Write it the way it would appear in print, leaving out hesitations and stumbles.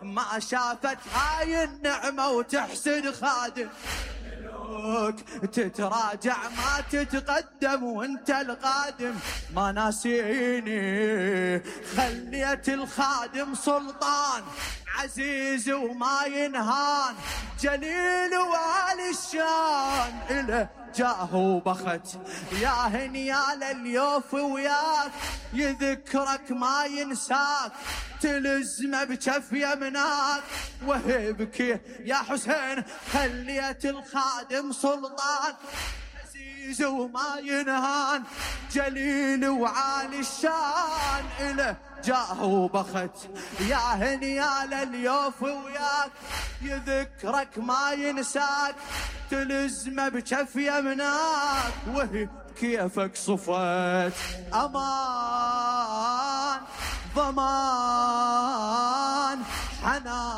ما شافت هاي النعمة وتحسد خادم. تتراجع ما تتقدم وانت القادم. ما ناسيني خليت الخادم سلطان عزيز وما ينهان، جليل وعلي الشان إله جاه وبخت. يا هنيال اليوف وياك يذكرك ما ينساك، تلزمه بجف يمناك وهبكي يا حسين. خليت الخادم سلطان عزيز وما ينهان، جليل وعالي الشان إله جاه وبخت. يا هنيال اليوف وياك يذكرك ما ينساك، تلزمه بجف يمناك وهي كيفك صفت. أمان ضمان حنان